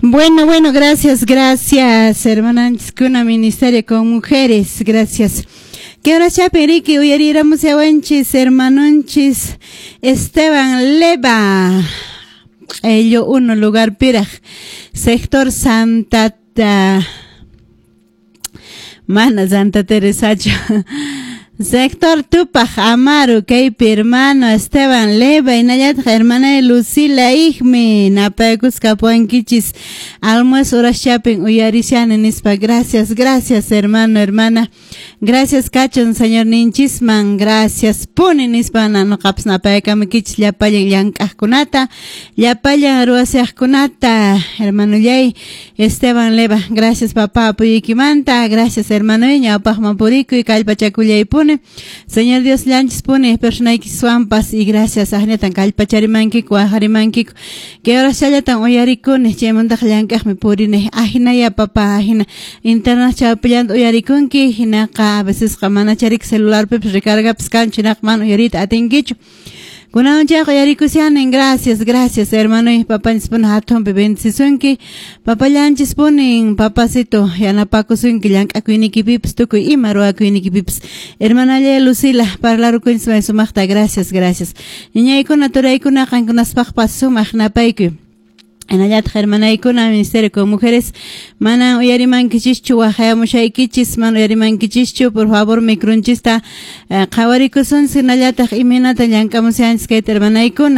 Bueno, bueno, gracias, gracias, hermananchiskuna Ministerio con Mujeres, gracias. Que ahora chapi uyariramos yawanchis, hermanonchis Esteban Leva, ello uno lugar piraj, sector Santa Mana Santa Teresacho. Sector Tupaj Amaru, kaypi hermano Esteban Leva, hinallataq hermana Lucila Igme, napaykusqa apuankichis, almuerzo horas chapin uyarishani nispa, gracias, gracias hermano, hermana, gracias kachun señor ninchisman, gracias puni nispa, noqapas napaykamukichis llapallan llank'aqkunata, llapallan ruwasiqkunata, hermanollay Esteban Leva, gracias papá apoyoykimanta, gracias hermano, ñawpaqman purikuy, kallpachakullaypuni. Señor Dios llanchis puni personaykiswanpas y gracias ahnatan kallpacharimankiku waqarimankiku que horasllatan uyarikuni chaymantaqa llank'aqmi purini ahinaya papá ahina internet chawpillanta uyarikunki hinaqa a vecesqa mana charik celularpipas recargapas kanchu hinaqa mana uyariyta atinkichu. Kunan chayqa uyarikushanin, gracias, gracias hermano y papanchis puni hatunpi bendecisunki, papallanchis punin papacito yanapakusunki llank'akuynikipipas tukuy ima ruwakuynikipipas. Hermanalla Lucila parlarukunchis may sumaqta, gracias, gracias. Ñañaykuna turaykuna qankunaspaqpas sumaq napaykuy. Hinallataq hermanaykuna Ministerio con Mujeres mana uyarimankichischu waqhayamushaykichis mana uyarimankichischu, por favor micronchista qhawarikusunchis hinallataq imaynata llank'amushanchis kayta hermanaykuna.